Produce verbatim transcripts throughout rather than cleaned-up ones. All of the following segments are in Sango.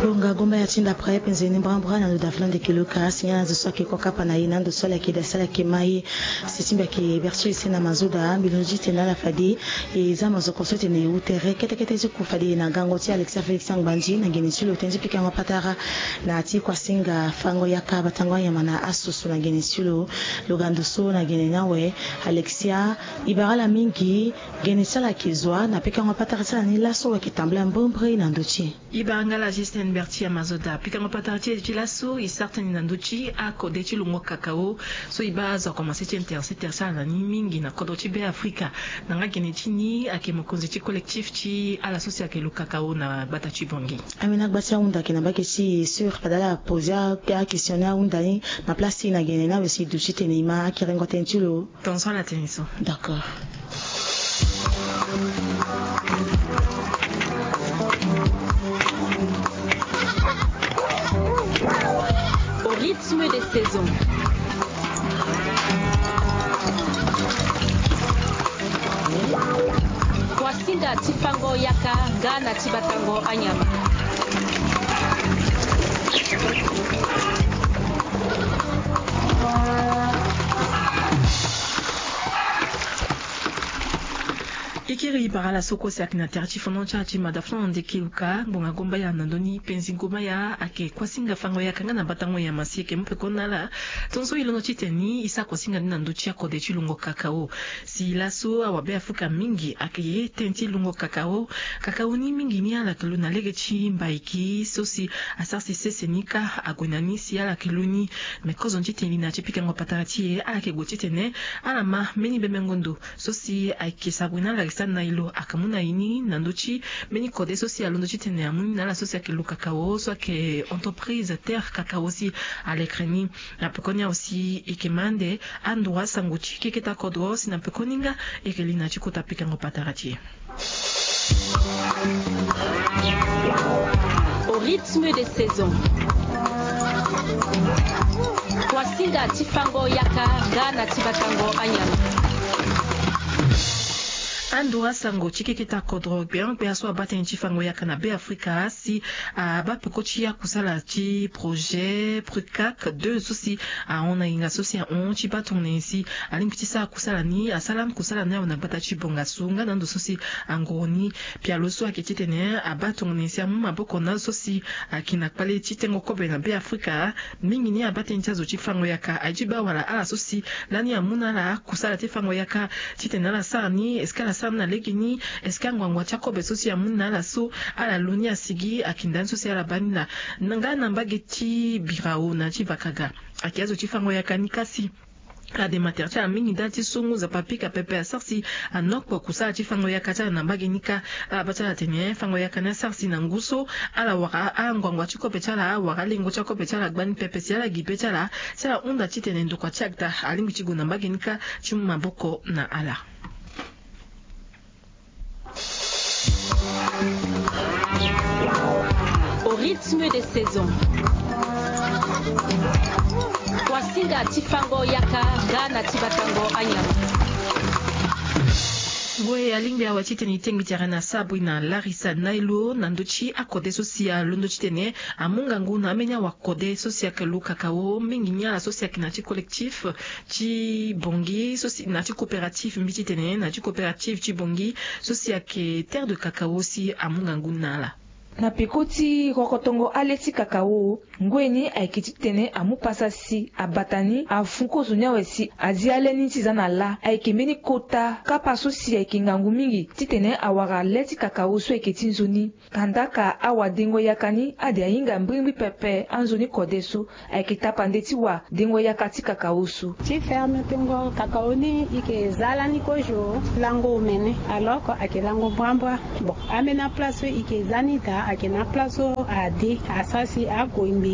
Bonga gomba ya ti ndapre penze ni mbrambra na ndo davila ndeke luka si nga na zo so ayeke kokapa na ye na ndo so ala yeke da si ala yeke ma ye. Si ti mbi ayeke berti ese na mazoda mbi londo ti tene ala fade. E za mazoko so tene e wu tere ketekete ti ku fade na gango ti alexia félix angbandi na gene ti lo tene ti pikango patara na ti kuasinga fango yaka batango anyama na asusu na gene ti lo. Lo ga ndo so na gene ni awe. Alexia, e bara ala mingi. Gene ti ala ayeke zo wa na pikango patara ti ala ni laso wa yeke tambula mbrimbri na ndo ti e. E bara nga la justine berti ya mazoda pikango patara ti e ti laso e sara tënë na ndö ti akode ti lungo kakao. So e baa azo akomanse ti interesse terse ala na ni mingi na kodro ti be afrika. Na nga gene ti ni ayeke mokonzi ti collectif ti ala so si ayeke lu kakao na gbata ti bongi. Amena gba ti ahunda ayeke na mbage ti e sur fade ala pose akestion ni ahunda ni na place ti e na gene ni awe si e duti tene e ma akerengo tënë ti lo. Ton so ala tene so. D'accord. Au rythme des saisons. Kuasinga ti fango yaka nga na ti batango anyama. Ikiri bara ala so kue si ayeke na tere ti fondon ti ala ti mada fondon ndeke luka ngbonga gomba ya na ndö ni penzi gomba ya ayeke kuasinga fango yaka nga na batango nyama si e yeke mu peko na ala. Tongaso e londo ti tene ni e sara kuasinga ni na ndö ti akode ti lungo kakao. Si laso awabe afrika mingi ayeke ye tënë ti lungo kakao. Kakao ni mingi ni ala yeke lu na lege ti mbaiki so si asara si sese ni kâ ague na ni si ala yeke lu ni. Me kozo ni ti tene li na ya ti pikango patara ti e ala yeke gue titene ala ma mbeni bebengo ndo so si ayeke sabri na ala yeke sara ni na e lo ayeke mu na e ni na ndö ti mbeni kode so si alondo titene amu ni na ala so si ayeke lu kakao so ayeke entreprise terre kakao si alekere ni. Na pekoni awe si e yeke ma ande andura sango ti keketa kodro si na pekoni nga e yeke li na ti kota pikango patara ti e. Au rythme des saisons. Kuasinga ti fango yaka nga na ti batango anyama. Andura sango ti keketa kodro gbeon gbea so abaa tënë ti fango yaka na be afrika si abaa peko ti akusala ti projet prucac deux so si ahon na nginga so si ahon ti baa tongana nyen si alingbi ti sara kusala ni asara lani kusala ni awe na gbata ti bonga so nga na ando so si anguru ni. Pialo so ayeke titene abaa tongana nyen si amu maboko na azo so si ayeke na kpale ti tengo kobe na be afrika. Mingi ni abaa tënë ti azo ti fango yaka aye ti baa wala ala so si lani amu na ala kusala ti fango yaka titene ala sara ni est-ce que ala sara ni na lege ni? Est-ce que anguangu ti akobe so si amu ni na ala so ala lo ni asigi ayeke nda ni so si ala baa ni laa. Nga na mbage ti birao na ya ti vakaga ayeke azo ti fango yaka ni kasi. Adema tere ti ala mingi ndali ti so ngu nzapa pika pepe asara si anokpo kusala ti fango yaka ti ala na mbage ni kâ. Ala baa ti ala tene fango yaka ni asara si na ngu so ala wara anguangu ti kobe ti ala awara alengo ti akobe ti ala gbani pepe si ala gi be ti ala si ala hunda titene ndokua ti agda alingbi ti gue na mbage ni kâ ti mu maboko na ala. Au rythme des saisons. Kuasinga ti fango yaka nga na ti batango anyama. Ngoi alingbi awe titene e tengbi tere na sabri na larisa nailo na ndö ti akode so si alondo titene amu ngangu na ambeni awakode so si ayeke lu kakao mingi ni ala so si ayeke na ti collectif ti bongi so si na ti coopérative mbi titene na ti coopérative ti bongi so si ayeke terre de kakao si amu ngangu na ala. Na peko ti rokotongo ale ti kakao ngoi ni ayeke titene amu pasa si abata ni afu kozo ni awe si azi ale ni ti za na lâ ayeke mbeni kota kapa so si ayeke ngangu mingi titene awara le ti kakao so ayeke ti nzoni. Kandaka awadengo yaka ni ade ahinga mbrimbri pepe anzoni kode so ayeke tapande ti wadengo yaka ti kakao so. Ti ferme tengo kakao ni e yeke za lani kozo lango omene alors que ayeke lango mbrambra. Bon, ambeni aplace so e yeke za ni daa ayeke na aplace so ade asara si ague mbi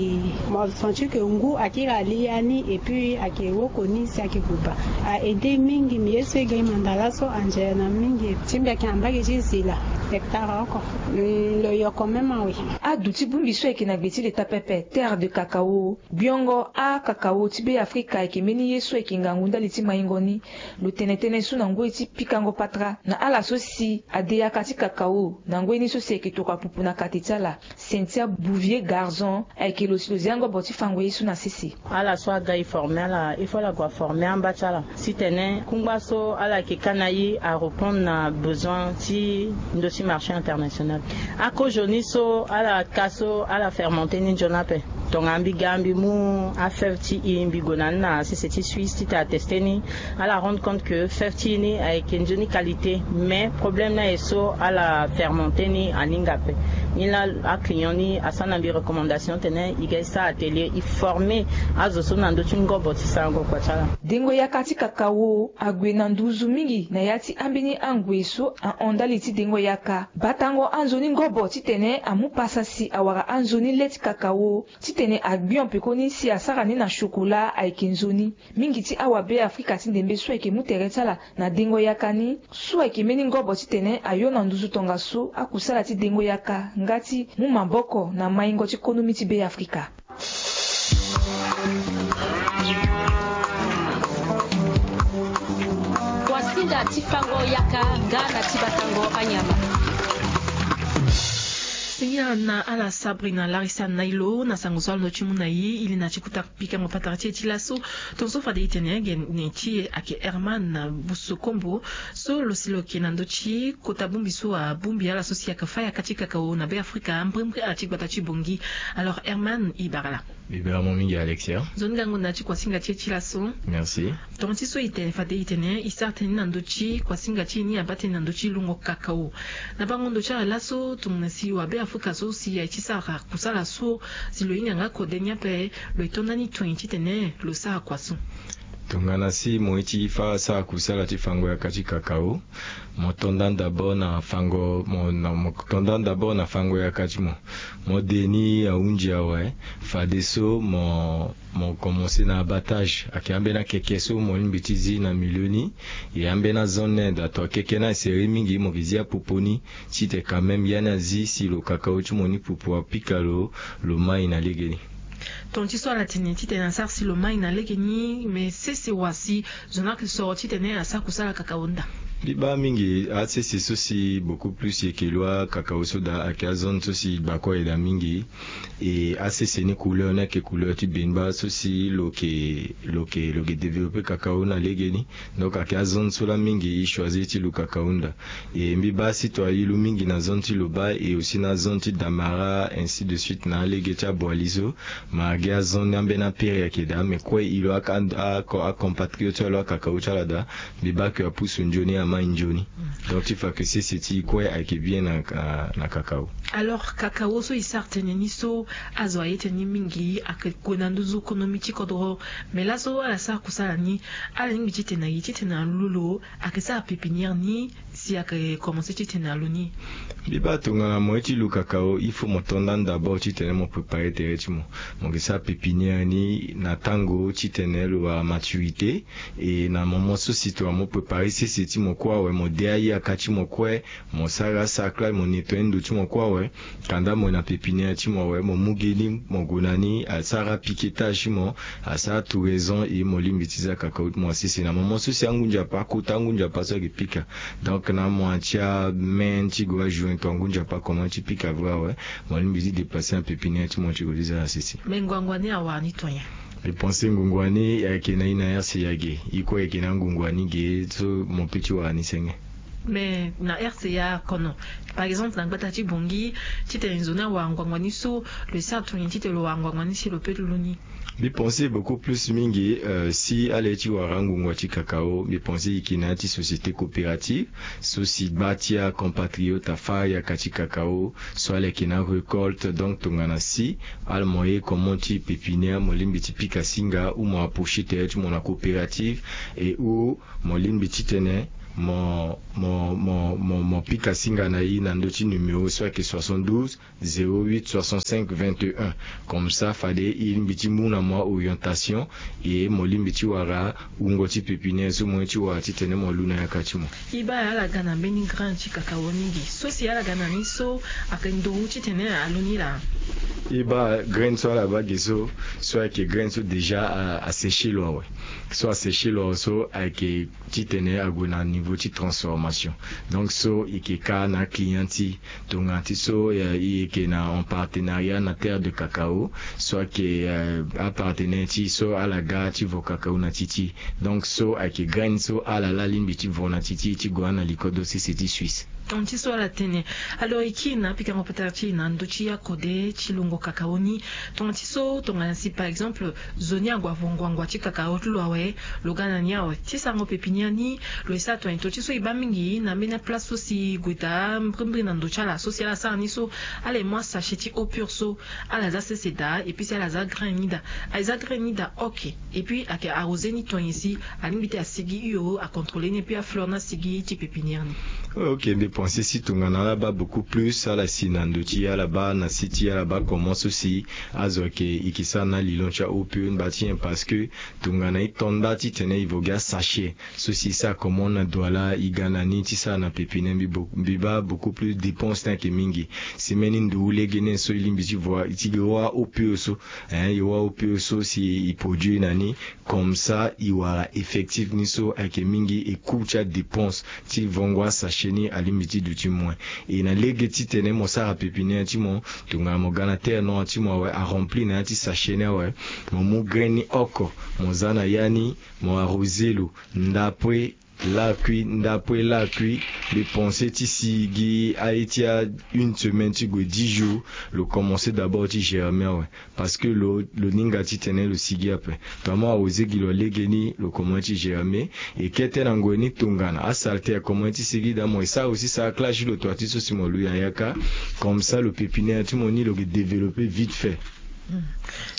mo senti ke ngu akiri ali ya ni et puis ayeke woko ni si ayeke buba. A aide mingi mbi ye so e ga e manda laso anzere na mingi ti mbi ayeke na mbage ti zila hectare oko. Lo yoko même awe. Adu ti bongbi so ayeke na gbe ti leta pepe terre de kakao. Gbiongo akakao ti be afrika ayeke mbeni ye so ayeke ngangu ndali ti maingo ni. Lo tene tënë so na ngoi ti pikango patara na ala so si ade yaka ti kakao na ngoi ni so si ayeke tokua pupu na Ate ti ala, Cynthia Bouvier Garzon, ayeke lo si lo zia ngobo ti fango ye so na sese. Ala so aga e former ala, il faut ala gue aformer amba ti ala. Titene kungba so ala yeke ka na e arépondre na besoin ti ndö ti marché international. Akozoni so ala ka so ala fermenter ni nzoni ape. Tongana mbi ga mbi mu afeuve ti e mbi gue na ni na sese ti Suisse titene atester ni, ala rendre compte que feuve ti e ni ayeke nzoni qualité, mais problème ni aye so ala fermenter ni aninga ape. Ni laa aclient ni asara na mbi recommandation titene e ga e sara atelier, e former azo so na ndö ti ngobo ti sarango kua ti ala. Dengo yaka ti kakao ague na nduzu mingi na ya ti ambeni angoi so ahon ndali ti dengo yaka. Batango anzoni ngobo titene amu pasa si awara anzoni le ti kakao titene agbion pekoni si asara ni na chocolat ayeke nzoni. Mingi ti awabe Afrika ti ndembe so ayeke mu tere ti ala na dengo yaka ni, so ayeke mbeni ngobo titene ayo na nduzu tongaso akusala ti dengo yaka nga ti mu maboko na maingo ti konomi ti Be Afrika. Kuasinga ti fango yaka nga na ti batango anyama. Singila na ala Sabrina Larissa Nailo na sango so alondo ti mu na e, e li na ti kuta pikango patara ti e ti laso. Tongaso fade e tene gene ti e ayeke Herman Busokombo, so lo si lo yeke na ndö ti kota bongbi so abongbi ala so si ayeke fâ yaka ti kakao na Be Afrika, mbrimbri ala ti gbata ti Bangui. Alors Herman, e bara laa. E bara mo mingi Alexia. Nzoni gango na ya ti kuasinga ti e ti laso. Merci. Tonga ti so e tene fade e tene e sara tënë ni na ndö ti kuasinga ti e ni abaa tënë na ndö ti lungo kakao. Na bango ndo ti ala laso tongana si wabe Afrika so si aye ti sara kusala so si lo hinga nga kode ni ape, lo ye to ndani tongana titene lo sara kua so. Tongana si mo ye ti fâ sara kusala ti fango yaka ti kakao, mo to ndani d'abord na fango mo na mo to ndani d'abord na fango yaka ti mo. Mo de ni ahunzi awe. Fadeso mo mo commencer na abattage, ayeke ambeni akeke so mo lingbi ti zi na milieu ni. E ambeni azon ni daa to akeke ni asere mingi, mo ke zi apopo ni titene quand même ya ni azi si lo kakao ti mo ni pupu apika lo, lo mai na legeni. Tonga ti so ala tene titene asara si lo mai na legeni, me sese wa si zo ni ayeke soro titene asara kusala kakao ni daa. Mbi baa mingi asese so si beaucoup plus e yeke lo akakao so daa ayeke azone so si e gba kue aye daa mingi. E asese ni couleur ni ayeke couleur ti benba so si lo yeke lo yeke lo yeke développer kakao na legeni. Donc ayeke azone so laa mingi e choisir ti lo kakao ni daa. E mbi baa si to aye lo mingi na zone ti Loba et aussi na zone ti Damara, ainsi de suite na alege ti Aboali so. Ma gi azone ni ambeni apere ayeke daa, me kue e lo a a a compatriote ti ala lo akakao ti ala daa. Mbi baa ke apusu nzoni amai nzoni. Donc ti fa ke sese ti e kue ayeke bien na na kakao. Alors kakao so e sara tënë ni so azo aye tënë ni mingi ayeke gue na nduzu konomi ti kodro. Me laso ala sara kusala ni, ala lingbi titene na e titene alu lo ayeke sara pépinière ni si ayeke commencer titene alu ni? Mbi baa tongana mo ye ti lu kakao il faut mo to ndani d'abord titene mo préparer tere ti mo. Mo yeke sara pépinière ni na tango titene lo wara maturité. E na moment so si tongana mo préparer sese ti mo kue awe, mo de ayaka ti mo kue, mo sara asaklage, mo nettoyer ndo ti mo kue awe. Kanda mo na pépinière ti mo awe, mo mu ge ni mo gue na ni asara piquetage ti mo, asara touraison, e mo lingbi ti za kakao ti mo asese na moment so si angu nzapa akota, angu nzapa so ayeke pika. Donc na mois ti amain ti gue ajuin to angu nzapa akomanse ti pika vre awe, mo lingbi ti déplacer na pépinière ti mo ti gue ti za na sese. Me ngbangba ni awara ni to nyen? Mbi pense ngbangba ni ayeke na e na R C A ge, e kue ayeke na ngbangba ni ge so mo pe ti wara ni senge. Mais na R C A kono, par exemple na gbata ti Bangui, titene nzoni awara ngbangba ni so, lo sara tongana nyen titene lo wara ngbangba ni si lo pe lu ni? Mbi pense beaucoup plus mingi, euh, si ala ye ti wara angungua ti kakao, mbi pense e yeke na ya ti société coopérative so si gba ti acompatriote afâ yaka ti kakao so ala yeke na arécolte. Donc tongana si ala mo ye comment ti pépinière, mo lingbi ti pika singa ou mo approcher tere ti mo na coopérative, et ou mo lingbi titene mo mo mo mo mo pika singa na e na ndö ti numéro so ayeke soixante-douze zéro huit soixante-cinq vingt et un. Comme ça fade e lingbi ti mu na mo a-orientation, e mo lingbi ti wara wungo ti pépinière so mo ye ti wara titene mo lu na yaka ti mo. E baa ala ga na mbeni grain ti kakao mingi so si ala ga na ni so ayeke nduru titene alu ni laa? E baa graine so ala baa ge so, so ayeke graine so déjà a, aséché lo awe. So aséché lo awe so ayeke titene ague na niveau ti transformation. Donc so e yeke ka na aclient ti e, tongana ti so, eh, e yeke na en partenariat na Terre de Cacao, so ayeke, eh, apartenaire ti e so ala ga ti vo cacao na ti ti. Donc so ayeke graine so ala laa alingbi ti vo na ti ti ti gue na likodo sese ti Suisse. Tongana ti so ala tene. Alors e kiri na apikango patara ti e na ndö ti akode ti lungo cacao ni. Tongana ti so tongana si par exemple zo ni ague avo ngbangba ti cacao ti lo awe, lo ga na ni awe ti sarango pépinière ni. Lo ye sara tongana e to ti so e baa mingi na ambeni aplace so si e gue daa mbrimbri na ndo ti ala so si ala sara ni so, ala ye mu asachet ti eau pure so, ala za sese daa et puis si ala za grain ni daa. Aye za grain ni daa, ok. Et puis ayeke arrosé ni tonye si alingbi ti asigi hio, acontrôlé ni et puis afleur ni asigi ti pépinière ni. Ok, mbi pense si tongana ala baa beaucoup plus, ala si na ndo ti e, ala baa na si ti e, ala baa comment so si azo ayeke, e yeke sara na lilon ti a eau pure ni baa ti nyen, parce que tongana e to ni baa titene e vo gi asachet so si e sara comment na Douala, e ga na ni ti sara na pépinière, mbi bo-, mbi baa beaucoup plus dépense ni ayeke mingi. Si mbeni ndugu lege ni so e lingbi ti vo, ti gi wâ eau pure so, hein, e wâ eau pure so si e produire na ni, comme ça e wara effectif ni so ayeke mingi, e coût ti adépense ti vongo asachet ni alingbi ti duti moins. E na lege titene mo sara pépinière ti mo, tongana mo ga na terre noire ti mo awe, arempli na ya ti sachet ni awe, mo mu grain ni oko, mo za na ya ni, mo arrosé lo, ndapue lakui, ndapue lakui. Mbi pense ti si gi aye ti a une semaine ti gue dix jours, lo commencé d'abord ti germer awe. Parce que lo, lo ni nga titene lo sigi ape. Tongana mo arrosé gi lo lege ni, lo commencé ti germer. E kete na ngoi ni tongana asaleté akomanse ti sigi daa, mo e sara aussi saraclage ti lo toa ti so si mo lu na yaka. Comme ça lo pépinière ti mo ni lo ke développer vite fait.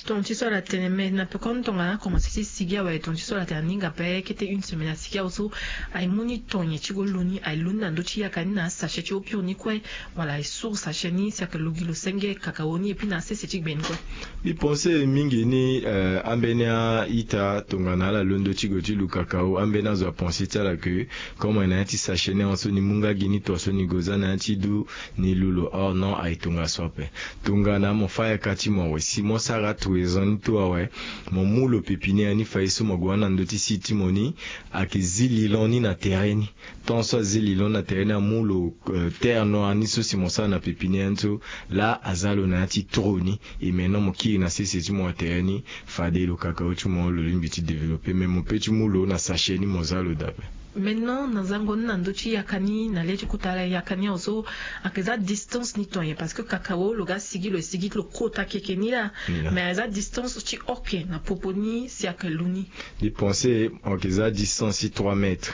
Tongana ti so ala tene, mais na pekoni tongana akomanse ti sigi awe, tongana ti so ala tene aninga ape kete une semaine asigi awe so, aye mu ni tonye ti go lu ni, aye lu ni na ndö ti yaka ni na asachet ti eau pure ni kue, wala aye source sachet ni si ayeke lu gi lo senge cacao ni et puis na asese ti gbe ni kue. Mbi pense mingi ni, eh, ambeni a-ita tongana ala londo ti gue ti lu cacao, ambeni azo apense ti ala ke comme aye na ya ti sachet ni ahon so ni mu nga gi ni toa so ni go za na ya ti du ni lu lo. Oh non, aye tongaso ape. Tongana mo fâ yaka ti mo awe, si mo sara toison ni to awe, mo mu lo pépinière ni fade so mo gue wâ na ndö ti site ti mo ni, ayeke zi lilon ni na tere ni. Tant so azi lilon na tere ni, amu lo, eh, terre noire ni so si mo sara na pépinière ni so, laa aza lo na ya ti trou ni. E maintenant mo kiri na sese ti mo na tere ni, fade lo cacao ti mo lo lingbi ti développer, mais mo pe ti mu lo na sachet ni mo za lo daa ape. Maintenant na zango ni na ndö ti yaka ni, na le ti kota yaka ni awe so, ayeke za distance ni tonye, parce que cacao lo ga sigi, lo sigi ti lo kota keke ni laa. Ni laa. Mais aza distance ti oke na popo ni si ayeke lu ni. Mbi pense ayeke za distance ti trois mètres.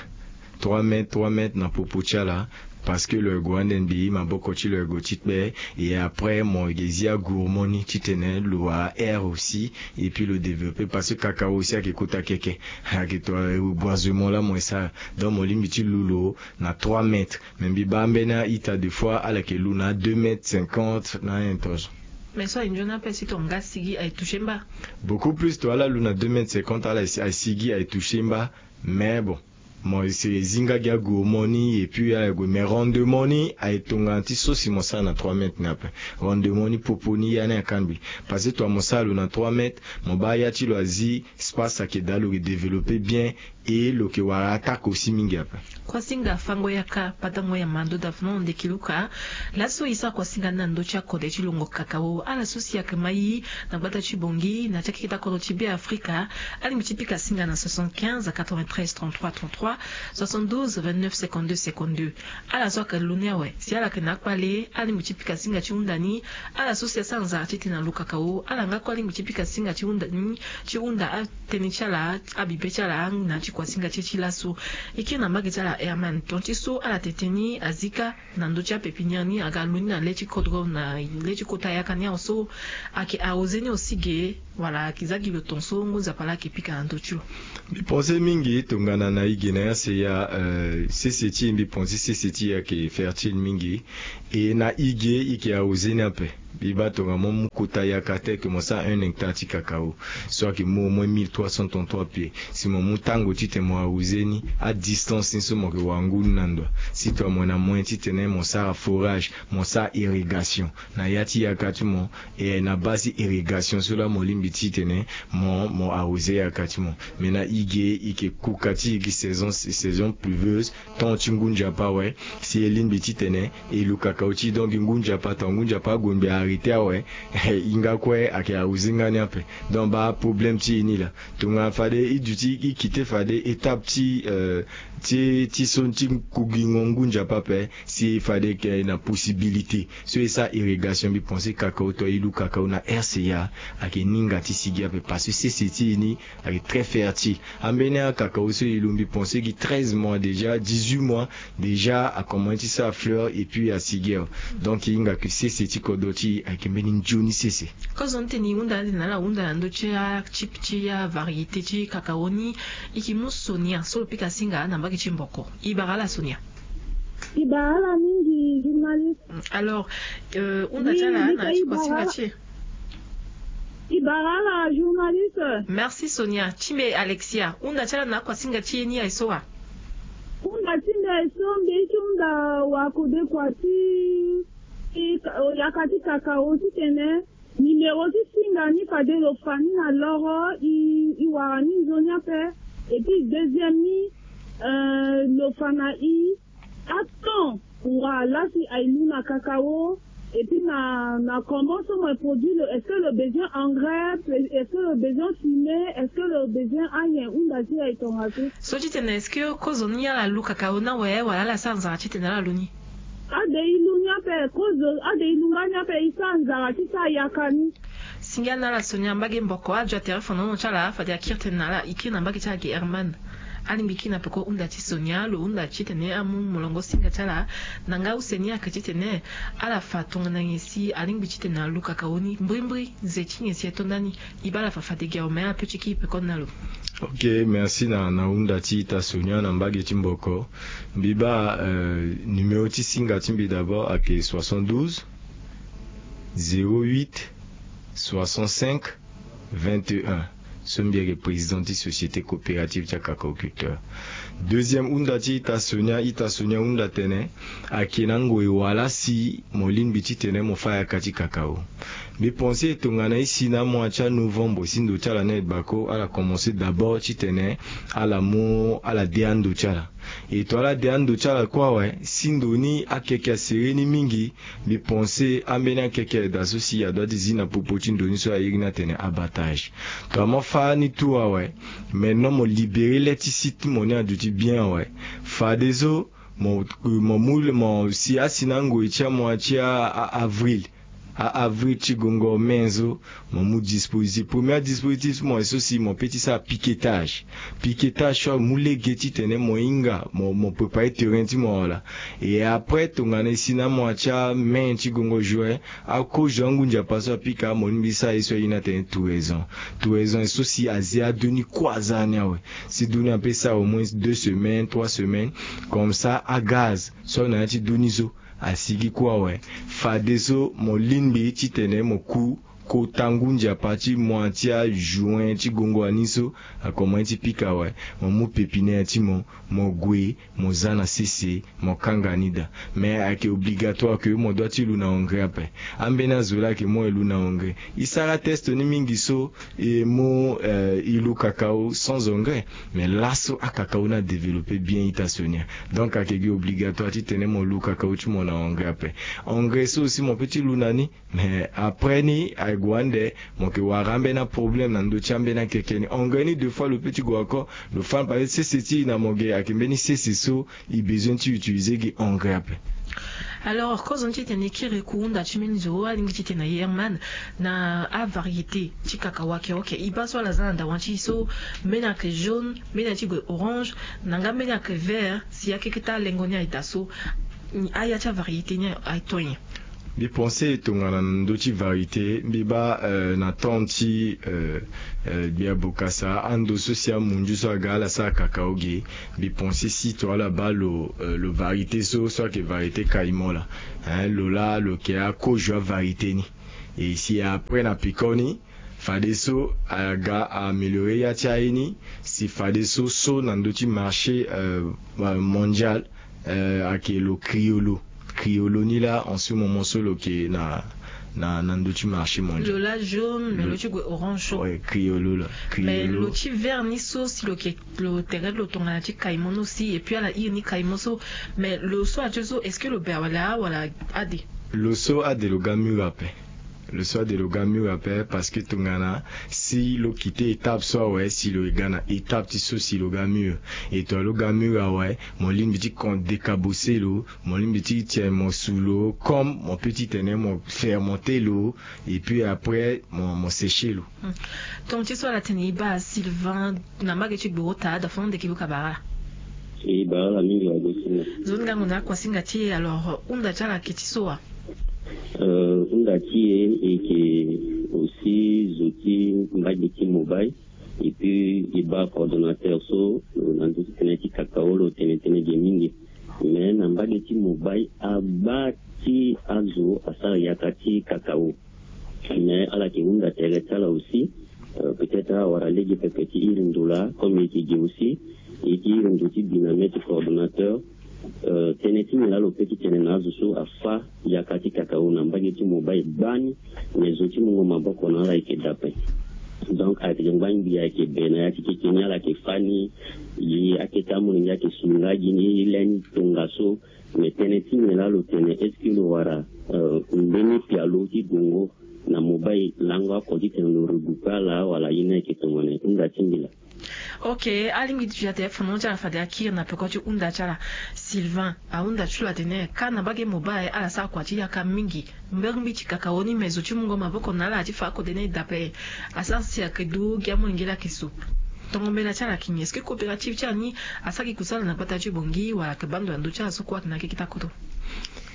Trois mètres, trois mètres na popo ti ala. Parce que lo yeke gue ande mbi, maboko ti lo yeke gue ti kpe. Et après mo yeke zi agourmand ni titene lo wara air aussi, et puis lo développer, parce que cacao aussi ayeke kota keke. Ayeke to, eh, boisement laa mo e sara. Donc mo lingbi ti lu lo na trois mètres. Mais mbi baa ambeni a-ita des fois ala yeke lu na deux mètres cinquante na ayen tozo. Mais so aye nzoni ape si tonga asigi aye toucher mba. Beaucoup plus to ala lu na deux mètres cinquante, ala si-, aye sigi aye toucher mba. Mais bon, mo si e zi nga gi agourmand ni et puis ala gue, mais rendement ni aye tongana ti so si mo sara na trois mètres ni ape. Rendement ni popo ni ya ni ayeke kangbi. Parce que to mo sara lo na trois mètres, mo baa ya ti lo azi, espace ayeke daa, lo ke développer bien, et lo ke wara attaque aussi mingi ape. Kuasinga fango yaka, patango ya mando da fana ndeki luka. Laso e sara kuasinga ni na ndö ti akode ti longo cacao, ala so si ayeke mai na gbata ti Bangui na ti akeketa kodro ti Beafrika, alingbi ti pika singa na soixante-quinze quatre-vingt-treize trente-trois trente-trois, soixante-douze vingt-neuf cinquante-deux cinquante-deux. Ala so ayeke lu ni awe, si ala yeke na akpale, alingbi ti pika singa ti hunda ni. Ala so si asara nzara titene alu cacao, ala nga kue alingbi ti pika singa ti hunda ni, ti hunda atënë ti ala, abibe ti ala na ya ti kuasinga ti e ti laso. E kiri na mbage ti ala Herman, tongana ti so ala tene tënë ni azi kâ na ndö ti apépinière ni, aga lu ni na le ti kodro, na le ti kota yaka ni awe so, ayeke arrosé ni aussi ge, wala ayeke za gi lo ton so ngu nzapa laa ayeke pika na ndö ti lo. Mbi pense mingi tongana na e ge na ya seya, eh, sese ti e, mbi pense sese ti e ayeke fertile mingi. E na e ge e yeke arrosé ni ape. Mbi baa tongana mo mu kota yaka ti ayeke mo sara un hectare ti kakao so ayeke mu au moins mille trois cent trente-trois pieds. Si mo mu tango titene mo arroser ni, adistance ni so mo yeke wara ngu ni na ndo. Si tongana mo na moyen titene mo sara forage, mo sara irrigation na ya ti yaka ti mo, e na base ti irrigation so laa mo lingbi titene mo mo arroser yaka ti mo. Mais na e ge e yeke kuka ti e gi saison saison pluvieuse, temps ti ngu nzapa awe. Si e lingbi titene e lu kakao ti e, donc ngu nzapa, tongana ngu nzapa ague mbi arrêter awe, e hinga kue ayeke arroser nga ni ape. Donc baa problème ti e ni laa. Tongana fade e duti e quitter fade étape ti, euh, ti ti so ti kugingo ngu nzapa ape. Si fade e yeke na possibilité so e sara irrigation, mbi pense kakao, tongana e lu kakao na R C A, ayeke ninga ti sigi ape parce que sese ti e ni ayeke très fertile. Ambeni akakao so e lu, mbi pense gi treize mois déjà, dix-huit mois déjà, akomanse ti sara fleur et puis asigi awe. Donc e hinga ke sese ti kodro ti e ayeke mbeni nzoni sese. Kozoni titene e hunda ande na ala hunda na ndö ti atype ti avariété ti kakao ni, e yeke mu Sonia so lo pika singa na mbage ti Mboko. E bara ala Sonia. E bara ala mingi, journaliste. Alors, euh, hunda ti ala na ti kuasinga ti e. E bara ala, journaliste. Merci Sonia. Ti mbi Alexia, hunda ti ala na akuasinga ti e ni aye so wa? Hunda ti mbi aye so, mbi ye ti hunda wakode kua ti, ti ka-, yaka ti kakao titene numéro ti singa ni fade lo fa ni na loro, e, e wara ni nzoni ape. Et puis deuxième ni, euh, lo fa na e atemps. Wa la si aye lu na kakao, et puis na, na comment so mo produit lo, est-ce que lo besoin engrais, est-ce que lo besoin fumier, est-ce que lo besoin anyen? Hunda ti e aye tongaso. So titene est-ce que kozoni ala lu kakao ni awe, wala ala sara nzara titene ala lu ni? Ade e lu ni ape, kozo, ade e lu nga ni ape, e sara nzara ti sara yaka ni. Singa na ala Sonia, mbage Mboko azo atere fonono ti ala fade akiri tënë na ala, e kiri na mbage ti ala ge Herman. Alingbi kiri na peko hunda ti Sonia, lo hunda titene amu molongo singa ti ala. Na nga use ni ayeke titene ala fa tongana nyen si alingbi titene alu kakao ni mbrimbri, nze ti nyen si ato ndani. E baa ala fa fade ge awe, me ala peut ti kiri peko na lo. Ok, merci na, na hunda ti ita Sonia na mbage ti Mboko. Mbi baa, euh, numéro ti singa ti mbi d'abord ayeke soixante-douze, zéro huit, soixante-cinq, vingt et un. So mbi ayeke président ti société coopérative ti akacaoculteur. Deuxième hunda ti ita Sonia, ita Sonia hunda tene, ayeke na ngoi wala si mo lingbi titene mo fa yaka ti kakao. Mbi pense tongana e si na amois ti anovembre si ndo ti ala ni aye bako, ala commencer d'abord titene ala mu ala de ando ti ala. E tongana ala de ando ti ala kue awe, si ndo ni akeke asere ni mingi, mbi pense ambeni akeke aye daa so si adoit ti zi na popo ti ndo ni so airi ni atene abattage. Tongana mo fa ni tout awe, maintenant mo libérer le ti site ti mo ni aduti bien awe. Fadeso mo, mo mu, mo si asi na ngoi ti amois ti a, a, avril, a avril ti gongo, mai so, mo mu dispositif. Premier dispositif ti mo aye so si mo peut ti sara piquetage. Piquetage so amu lege titene mo hinga mo, mo préparer terrain ti mo wala. Et après tongana e si na amois ti amai ti gongo, juin, akozo angu nzapa so apika, mo lingbi sara ye so airi ni atene touraison. Touraison aye so si azi ado ni kue aza ni awe. Si ndo ni ape sara au moins deux semaines, trois semaines, comme ça agaz so na ya ti ndo ni so asigi kue awe. Fadeso mo lingbi titene mo ku kota ngu nzapa ti mois ti ajuin ti gongo ani so akomanse ti pika awe. Mo mu pépinière ti mo, mo gue, mo za na sese, mo kanga ni daa. Mais ayeke obligatoire que mo doit ti lu na engrais ape. Ambeni azo laa ayeke mu e lu na engrais. E sara test ni mingi so e mu, euh, e lu kakao sans engrais. Mais laso akakao ni adévelopper bien, ita Sonia. Donc ayeke gi obligatoire titene mo lu kakao ti mo na engrais ape. Engrais so aussi mo peut ti lu na ni, mais après ni aye gue ande, mo yeke wara ambeni aproblème na ndö ti ambeni akeke ni. Engrais ni deux fois lo peut ti gue encore, lo fa ni parce que sese ti e na mo ge ayeke mbeni sese so e besoin ti utiliser gi engrais ape. Alors kozoni titene e kiri ku hunda ti mbeni zo alingbi titene aye Herman na avariété ti kakao ayeke, ok, e baa so ala za na dawa ti e so, mbeni ayeke jaune, mbeni aye ti gue orange, na nga mbeni ayeke vert, si akeke ti alengo ni aye daa so, aya ti avariété ni aye to nyen? Mbi pense tongana na ndö ti variété, mbi baa, euh, na temps ti, euh, euh, Gbia Bokassa, ando so si amunzu so aga ala sara kakao ge, mbi pense si tongana ala baa lo, euh, lo variété so, so ayeke variété Caïman laa, hein, lo laa lo yeke akozo avariété ni. Et si après na piko ni, fadeso aga a améliorer ya ti aye ni. Si fadeso so na ndö ti marché euh, euh, mondial euh, ayeke lo criollo. Criollo ni laa en ce moment so lo yeke na na na ndö ti marché mondial. Lo laa jaune mais lo ti gue orange so. Ouais, criollo laa. Mais lo ti vert ni so si lo yeke lo tere lo tongana ti caïman ni aussi et puis ala iri ni caïman so. Mais lo so atie so est-ce que lo be awala wala ade? Lo so ade lo ga mûr ape. Lo so ade lo ga mûr ape parce que tongana si lo kite étape so awe si lo ga na étape ti so si lo ga mûr. Et tongana lo ga mûr awe, mo lingbi ti kon décabosser lo, mo lingbi ti tene mo su lo comme mo peut ti tene mo fermenter lo. Et puis après mo mo sécher lo. Tongana ti so ala tene e baa Sylvain na mbage ti gboro taa da fo na ndeke buka bara ala. E bara ala mingi wa go singa. Zo ni gango na akuasinga ti e alors hunda ti ala yeke ti so wa? Euh, hunda ti e e yeke aussi zo ti mbage ti mobile. Et puis e baa coordonnateur so na ndö ti tënë ti kakao lo tene tënë ge mingi. Mais na mbage ti mobile abaa ti azo asara yaka ti kakao. Mais ala yeke hunda tere ti ala aussi. Euh, peut-être awara lege pepe ti iri ndo laa comme e yeke ge aussi. E yeke iri ndo ti bi na mê ti coordonnateur. Euh, tënë ti nyen laa lo peut ti tene na azo so afâ yaka ti kakao na mbage ti mobile baa ni. Mais zo ti mungo maboko na ala ayeke dape. Donc ayeke ngba ngbii ayeke be na ya ti keke ni ala yeke fâ ni. Ye akete amolenge ayeke su nga gi ni lê ni tongaso. Mais tënë ti nyen laa lo tene est-ce que lo wara euh, mbeni pialo ti gongo na mobile lango oko ti tene lo regrouper ala wala ye ni ayeke tongana hunda ti mbila. Ok, alingbi ti fi ate fano ti ala fade akiri na peko ti hunda ti ala. Sylvain ahunda ti lo atene ka na mbage mobile ala sara kua ti yaka mingi. Mbeni mbi ti kakao ni me zo ti mungo maboko na ala ti fa akode ni dape. Asara si ayeke du gi amolenge laa ayeke so. Tongo mbela ti ala ayeke nyen? Est-ce que coopérative ti ala ni asara gi kusala na gbata ti bongi wala ayeke baa ndo na ndö ti ala so kue ayeke na keke ti akoto?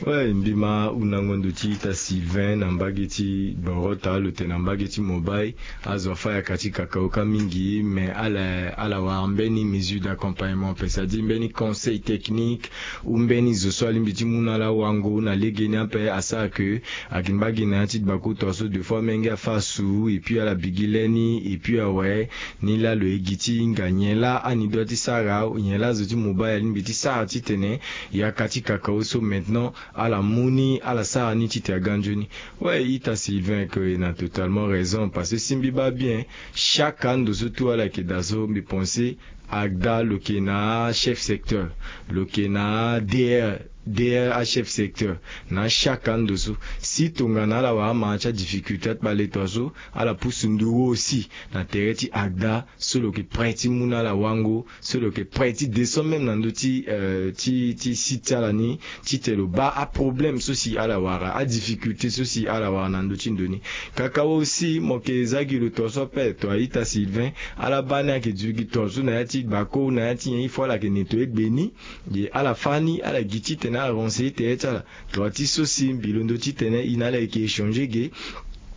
Ouais, mbi ma hundango ndo ti ita Sylvain na mbage ti gboro taa lo tene na mbage ti mobile. Azo afâ yaka ti kakao ka mingi mais ala ala wara mbeni mesure d'accompagnement ape, c'est-à-dire mbeni conseil technique ou mbeni zo so alingbi ti mu na ala wango na legeni ape asara ke ayeke ngba gi na ya ti gbako tongaso deux fois amenge afâ asu et puis ala bi gi lê ni et puis awe ni laa lo ye gi ti hinga nyen laa ani doit ti sara nyen laa zo ti mobile alingbi ti sara titene yaka ti kakao so maintenant ala mu ni ala sara ni titene aga nzoni. Ouais, ita Sylvain ke na totalement raison parce que si mbi baa bien chaque ando so tout ala yeke daa so mbi pense agda lo yeke na achef secteur, lo yeke na adr dr achef secteur. Na chaque ando so si tongana ala wara amara ti adifficulté ti baleto so ala pusu nduru aussi na tere ti agda so lo yeke prêt ti mu na ala wango so lo yeke prêt ti descend même na ndö ti euh, ti ti site ti ala ni titene lo baa aproblème so si ala wara adifficulté so si ala wara na ndö ti ndo ni. Kakao aussi mo yeke za gi lo tongaso ape to aita Sylvain. Ala baa ni ayeke duti gi tongaso na ya ti bako na ya ti nyen il faut ala yeke nettoyer gbe ni. Ye ala fâ ni ala gi titene ala renseiller tere ti ala. Tongana ti so si mbi londo titene e na ala yeke échanger ge.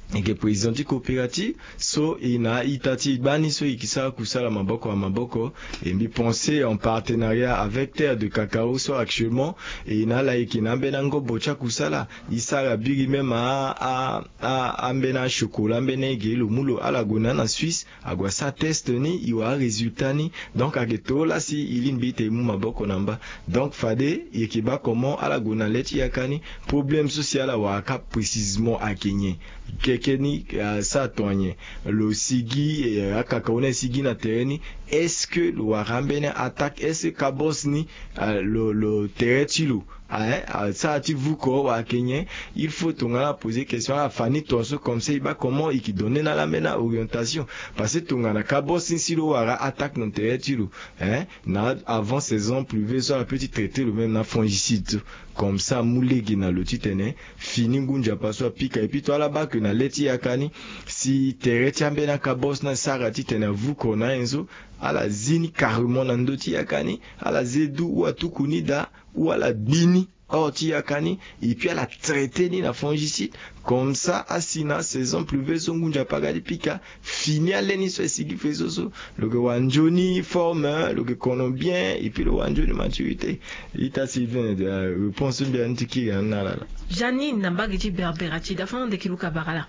E yeke président ti coopérative so e na a-ita ti e gbani so e yeke sara kusala maboko na maboko. E mbi pense en partenariat avec terre de cacao so actuellement e na ala yeke na ambeni angobo ti akusala. E sara biri même a a a ambeni achokola ambeni ege lo mu lo ala gue na ni na Suisse. Ague asara test ni e wara arésultat ni. Donc ayeke too laa si e lingbi ti e mu maboko na mba. Donc fade e yeke baa comment ala gue na le ti yaka ni. Problème so si ala wara kâ précisement ayeke nyen? Keke ni asara tongana nyen? Lo sigi akaka awe ni asigi na tere ni. Est-ce que lo wara ambeni attaque? Est-ce que kabos ni lo lo tere ti lo? Aye asara ti vuko wala ayeke nyen? Il faut tongana ala poser question ala fa ni tongaso comme ça e baa comment e yeke donner na ala ambeni aorientation. Parce que tongana kabos ni si lo wara attaque na tere ti lo, hein, na avant saison pluvieuseuse so ala peut ti traiter lo même na fongicide so. Comme ça amu lege na lo titene fini ngu nzapa so apika. Et puis to ala baa ke na le ti yaka ni si tere ti ambeni akabos ni asara titene avuko na ayen so, ala zi ni carrément na ndö ti yaka ni. Ala ze du ou atuku ni daa ou ala gbi ni. Or ti yaka ni, et puis ala traité ni na fongicide. Comme ça asi na saison pluveuse so ngu nzapa aga ti pika, fini ale ni so e sigi faisceau so, lo yeke wara nzoni forme, lo yeke kono bien, et puis lo wara nzoni maturité. Ita Sylvain, réponse so mbi ya ni ti kiri na ni na ala laa. Janine na mbage ti Berbera ti dafa na ndeke luka bara laa.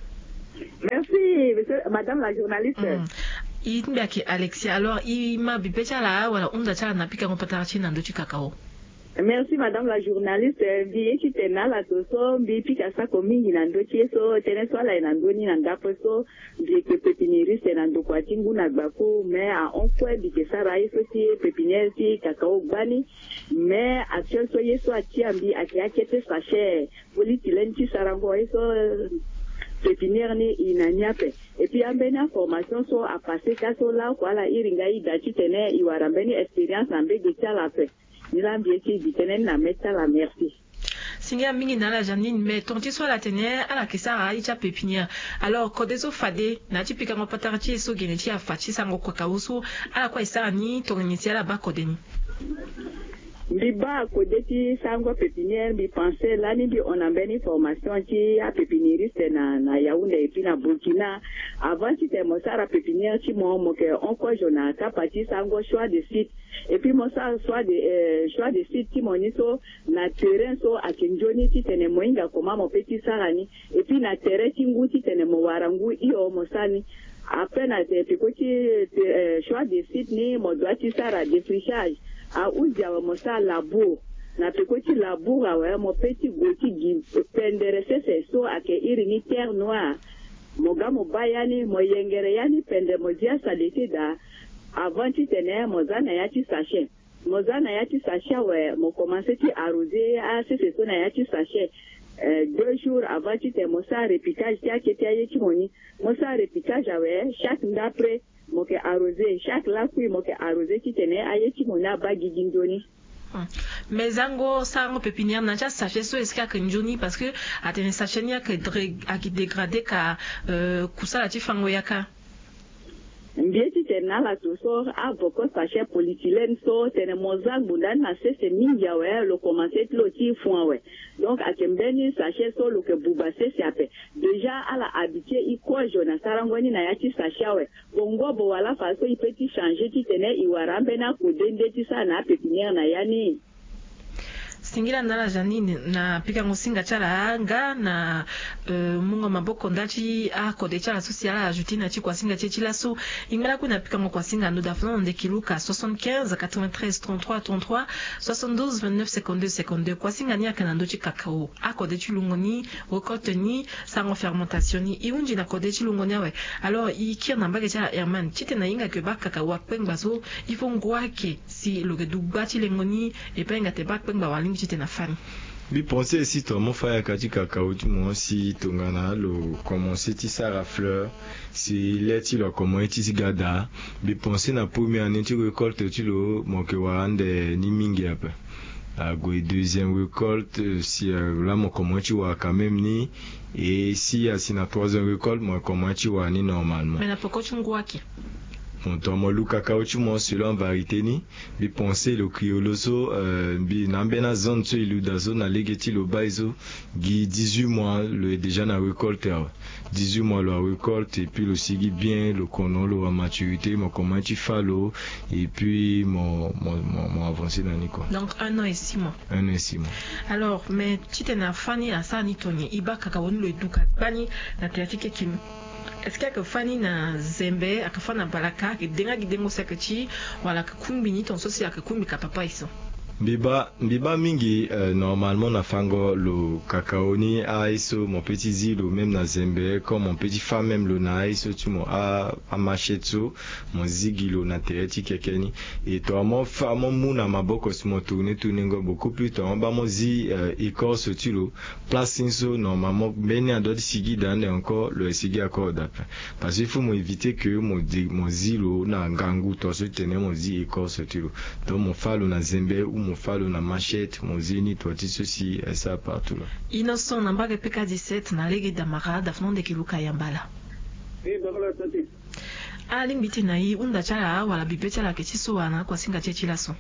Merci monsieur, madame la journaliste. I ti mbi ayeke Alexia. Alors i ma bibe ti ala wala hunda ti ala na pikango patara ti e na ndö ti kakao? Merci madame la journaliste. Mbi ye ti tene na ala so so mbi pika sako mingi na ndö ti ye so tënë so ala ye na ndö ni na ndapre so. Mbi yeke pépiniériste na ndokua ti ngu na gbaku, mais ahon kue mbi yeke sara aye so ti pépinière ti kakao gbani. Mais actuel so ye so atia mbi ayeke akete sachet politylène ti sarango ye so pépinière ni e na ni ape. Et puis ambeni aformation so apasse ka so laoko ala iri nga e daa titene e wara mbeni expérience na mbege ti ala ape. Ni laa mbi ye ti e gi tënë ni na mê ti ala. Merci. Singila mingi na ala Janine. Mais tonga ti so ala tene ala yeke sara aye ti apépinière. Alors kode so fade na ya ti pikango patara ti e so gene ti e afa ti sarango kakao so, ala kue aye sara ni tongana nyen si ala baa kode ni? Mbi baa kode ti sarango pépinière, mbi pense lani mbi hon na mbeni formation ti apépiniériste na na Yaoundé et puis na Burkina. Avant titene mo sara pépinière ti mo, mo yeke hon kozo na kapa ti sarango choix de site. Et puis mo sara choix de choix de site ti mo ni so na terrain so ayeke nzoni titene mo hinga comment mo pe ti sara ni. Et puis na tere ti ngu titene mo wara ngu hio mo sara ni. Après na peko ti choix de site ni mo doit ti sara défrichage. Ahuzi awe mo sara labour. Na peko ti labour awe mo pe ti gue ti gi pendere sese so ayeke iri ni terre noire. Mo ga mo baa ya ni mo yengere ya ni pendere mo zi asaleté daa. Avant titene mo za na ya ti sachet. Mo za na ya ti sachet awe mo commence ti arroser asese so na ya ti sachet. Deux jours avant titene mo sara repiquage ti akete aye ti mo ni. Mo sara repiquage awe chaque ndapre mo yeke arroser, chaque lakui mo yeke arroser titene aye ti mo ni abaa gigi nzoni. Mais zango sarango pépinière na ya ti asachet so est-ce que ayeke nzoni? Parce que atene sachet ni ayeke dégradé ka. Kusala ti fango yaka. Mbi ye titene na ala so so avoko sachet politylène so tene mo za ngbonda ni na sese mingi awe lo commence ti lo ti fun awe. Donc ayeke mbeni sachet so lo yeke buba sese ape. Déjà ala habitué e kozo na sarango ni na ya ti sachet awe. Bongo bo wala fa so e pe ti changer titene e wara ambeni akode nde ti sara na apépinière na ya ni? Singila na ala Janine na pikango singa ti ala nga na mungo maboko nda ti akode ti ala so si ala ajouté na ti kuasinga ti e ti laso. E ngba lakui na pikango kuasinga ndo dafa na ndeki luka soixante-quinze quatre-vingt-treize trente-trois trente-trois, soixante-douze vingt-neuf cinquante-deux cinquante-deux. Kuasinga ni ayeke na ndö ti kakao, akode ti lungo ni, récolte ni, sarango fermentation ni. E hunzi na kode ti lungo ni awe. Alors e kiri na mbage ti ala Herman titene ahinga ke baa kakao akpengba so, il faut ngu ayeke si lo yeke du gba ti lengo ni. E pe ahinga tene baa akpengba wala alingbi titene afâ ni. Mbi pense si tongana mo fâ yaka ti kakao ti mo si tongana lo commence ti sara fleur, si le ti lo akomanse ti ga daa, mbi pense na première année ti récolte ti lo mo yeke wara ande ni mingi ape. Ague deuxième récolte si laa mo komanse ti wara quand même ni. Et si asi na troisième récolte mo komanse ti wara ni normalement. Mais na peko ti ngu ayeke. Bon tongana mo lu kakao ti mo selon avariété ni, mbi pense lo criollo so, mbi na ambeni azone so e lu daa so na lege ti lo baa e so, gi dix-huit mois lo ye déjà na récolte awe. Dix-huit mois lo arécolte et puis lo sigi bien, lo kono, lo wara maturité, mo komanse ti fâ lo. Et puis mo mo mo mo avancer na ni kua. Donc un an et six mois. Un an et six mois. Alors mais titene afâ ni asara ni tongana nyen? E baa kakao ni lo ye duka gbani na tere ti keke ni. Est-ce que ayeke fâ ni na zembe, ayeke fâ na balaka, ayeke denga gi dengo si ayeke ti, wala ayeke kungbi ni tonga so si ayeke kungbi ka papa e so? Mbi baa mbi baa mingi. Normalement na fango lo kakao ni aye so mo pe ti zi lo même na zembe comme mo pe ti fâ même lo na aye so ti mo a amachette so, mo zi gi lo na tere ti keke ni. Et tongana mo fâ mo mu na maboko si mo tourner tourner ngo beaucoup plus tongana mo baa mo zi écorce ti lo. Place ni so normalement mbeni adoit ti sigi daa ande encore lo ye sigi encore daa ape. Parce que il faut mo éviter que mo zi lo na ngangu tonga so ti tene mo zi écorce ti lo. Donc mo fâ lo na zembe ou mo fâ lo na machette mo zi ni tonga ti so si e sara partout laa. Innocent na mbage peka dix-sept na lege damara dafa na ndeke luka yamba laa. Alingbi ti na e hunda ti ala wala bibe ti ala ayeke ti so wala na akuasinga ti e ti laso?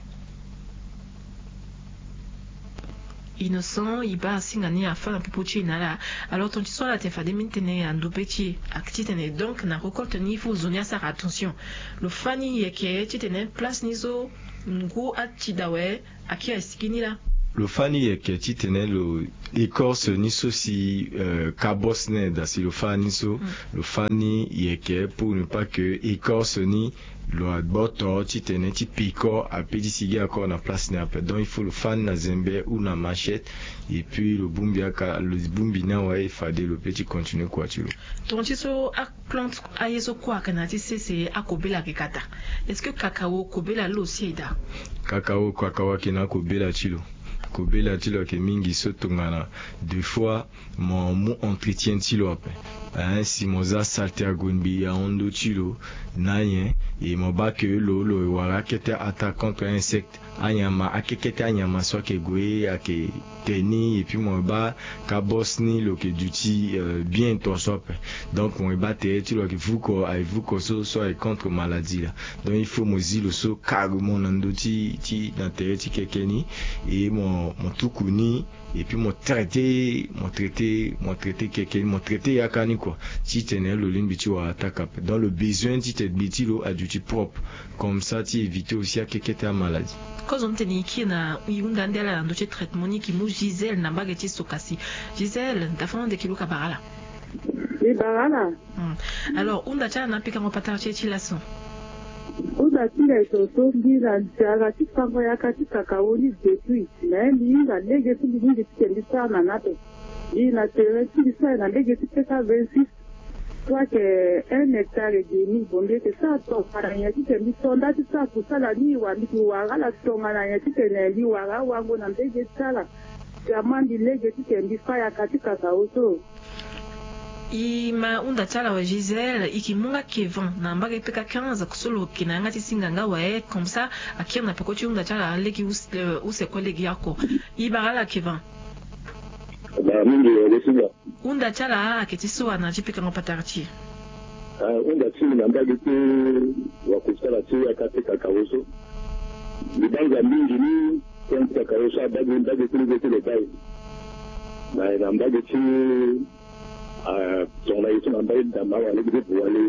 Innocent, e baa asinga ni afâ na popo ti e na ala. Alors ton ti so ala tene fade mbi tene ando pe ti e, ake titene donc na récolte ni il faut zo ni asara attention. Lo fâ ni yeke titene place ni so ngu ati da awe, akiri asigi ni laa. Lo fâ ni yeke titene lo écorce ni so si, euh, kabos ni aye daa si lo fâ ni so. Lo fâ ni yeke pour ne pas que écorce ni lo agboto titene ti peko ape ti sigi encore na place ni ape. Donc il faut lo fâ ni na zembe ou na machette, et puis lo bongbi aka, lo bongbi ni awe, fade lo pe ti continuer kua ti lo. Ton ti so plante aye so kue ayeke na ya ti sese, akobela ayeke ka daa. Est-ce que kakao kobela lo si aye daa? Kakao, kakao ayeke na akobela ti lo. Kobela ti lo ayeke mingi so tongana deux fois mo mu entretien ti lo ape. Hein, si mo za saleté ague ngbii ahon ndö ti lo na nyen, e mo baa ke lo, lo wara akete attaque contre insecte. Anyama, akekete anyama so ayeke gue, ayeke te ni, et puis mo baa kabos ni lo yeke duti, euh, bien tongaso ape. Donc mo baa tere ti lo ayeke vuko, aye vuko so, so aye contre maladie laa. Donc il faut mo zi lo so carrément na ndö ti, ti, na tere ti keke ni, et mo, mo tuku ni, et puis mo traité, mo traité, mo traité keke ni, mo traité yaka ni kua, titene lo lingbi ti wara attaque ape. Donc lo besoin titene gbe ti lo aduti propre. Comme ça ti éviter aussi akekete amaladie. Kozo ni tene e kiri na e hunda ande ala na ndö ti traitement ni, e ke mu Gisèle na mbage ti Sokasi. Gisèle, dafa ande e ke luka bara ala. E bara ala. Hmm. Alors hunda ti ala na apikango patara ti e ti laso. Hunda ti ngai so so mbi na nzara ti fango yaka ti kakao ni depuis. Mais mbi hinga lege so mbi mingi titene mbi sara na ni ape. Mbi na terrain ti mbi so aye na lege ti peka vingt-six. Soit que un hectare et demi, bon, mbi yeke sara tongana nyen titene mbi to nda ti sara kusala ni, wa mbi yeke wara ala tongana nyen titene mbi wara awango na mbage ti ala. Vraiment mbi lege titene mbi fâ yaka ti kakao so. E ma hunda ti ala awe Gisèle, e ke mu nga Kevin na mbage peka quinze, so lo yeke na yanga ti singa nga awe, comme ça akiri na peko ti hunda ti ala lege use, euh, use kue lege oko. E bara ala Kevin. Bara mingi, e, le singa. Hunda ti ala ayeke ti so wa na ya ti pikango patara ti e? Ah, hunda ti mbi na mbage ti wakusala ti yaka ti kakao so. Mbi banza mingi ni, tënë ti kakao so abaa gi mbage ti lege ti lo baa e. Na, na mbage ti, ah, tongana e so na mbage ti dama wala lege ti bu wala.